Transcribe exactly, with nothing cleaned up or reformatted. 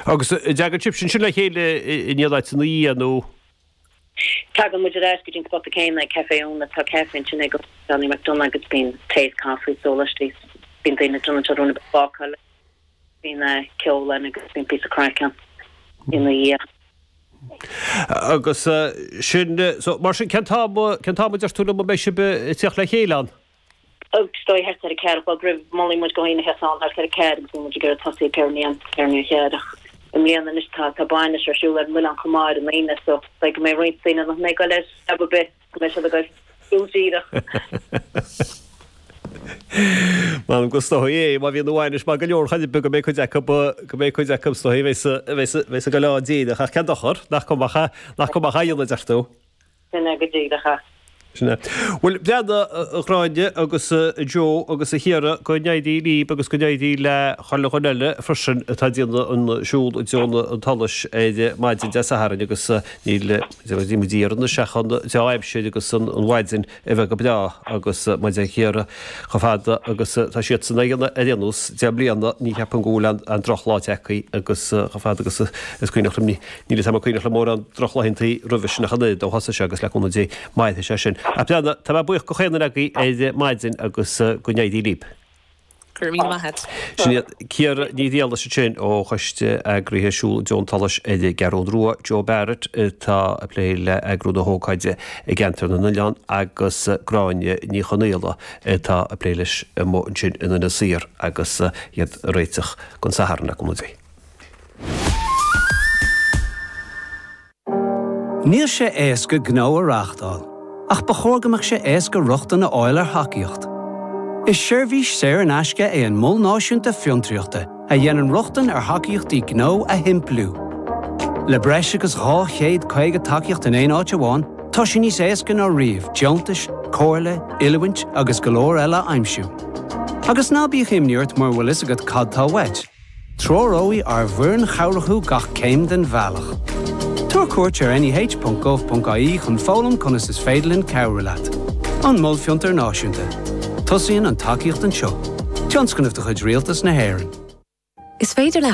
Agus an dtagann sibh ansin le chéile in aon áit ina dhiaidh nó? Tagann muid ar ais go dtí an spota céanna ag Café Úna, tá caife ansin ag Johnny McDonagh agus bíonn tae is caife is sólaistí, bíonn daoine ag déanamh rudaí ag bácáil, bíonn ceol ann agus bíonn píosa craic ann ina dhiaidh. Agus sin, so mar sin cén t-am, cén t-am a deir tú liom a mbeidh sibh ag tíocht le chéile ann? Is dóigh thart ar a ceathair a chlog roimh, molfaidh muid do dhaoine a theacht ann thart ar a ceathair agus bíonn muid ag iarraidh tosaí ag ceathair i ndiaidh, ceathair i ndiaidh a ceathair ach i mbliana anois tá, tá bainis ar siúl ar an oileán chomh maith ar an Aoine so is dóigh go mbeidh roinnt daoine nach mbeidh ag dul ar jab ar bith, go mbeidh siad ag dul siúl díreach. M'anam go is dóigh é, má bhíonn an bhainis maith go leor chor ar bith go mbeidh cuid acu, go mbeidh cuid acu is dóigh a bheas, a bheas, a bheas ag dul ann díreach ach cén dochar, nach cuma, nach cuma a dhéanamh a deir tú. Sin é go díreach é. Sin é. Bhuel, breathnaigh, a Ghráinne agus a Joe agus a Chiara, go n-éirí libh agus go n-éirí le chuile dhuine eile freisin atá ag déanamh an siúl i dtreo an tsolais ar maidin Dé Sathairn agus níl muid ag iarraidh anois ach an dea-aimsir agus an mhaidin a bheith go breá agus mar a deir Ciara chomh fada agus tá siadsan á dhéanamh ar aon nós deich mbliana ní cheapaim go bhfuil aon drochlá tagtha agus chomh fada agus is cuimhneach liom Níl fhios a'm an cuimhneach liom mórán drochlaethantaí roimhe sin ach an oiread ó thosaigh sé agus le cúnamh Dé mairfidh sé sin. Ach breathnaigh, tá mé buíoch de chaon duine agaibh ar maidin agus go n-éirí libh. Go raibh míle maith a't. Sin iad Ciara Ní Mhiallais ansin ó Choiste Eagraithe Siúl i dTreo an tSolais ar an gCeathrú Rua, Joe Barrett atá ag plé le eagrú na hócáide i gCeantar na nOileán agus Gráinne Ní Chonaola atá ag plé leis amuigh ansin in Inis Oírr agus iad ag réiteach don Satharn le cúnamh Dé. Níl sé éasca gnó a reáchtáil, ach ba chóir go mbeadh sé éasca rochtain a fháil ar thacaíocht. Is seirbhís saor in aisce é an Mol Náisiúnta Fiontraíochta a dhéanann rochtain ar thacaíochtaí gnó a shimpliú. Le breis agus dhá chéad caoga tacaíocht in aon áit amháin, tá sé níos éasca ná riamh deontais, comhairle, oiliúint agus go leor eile a aimsiú. Agus ná bíodh imní ort mura bhfuil fhios agat cad tá uait. Treoróidh ár bhfoireann chabhrach thú gach céim den bhealach. Tabhair cuairt ar neh.gov.ie chun foghlaim conas is féidir linn cabhrú leat. An Mol Fiontar Náisiúnta. Tosaíonn an tacaíocht anseo. Tionscnamh de chuid Rialtas na hÉireann. Is féidir le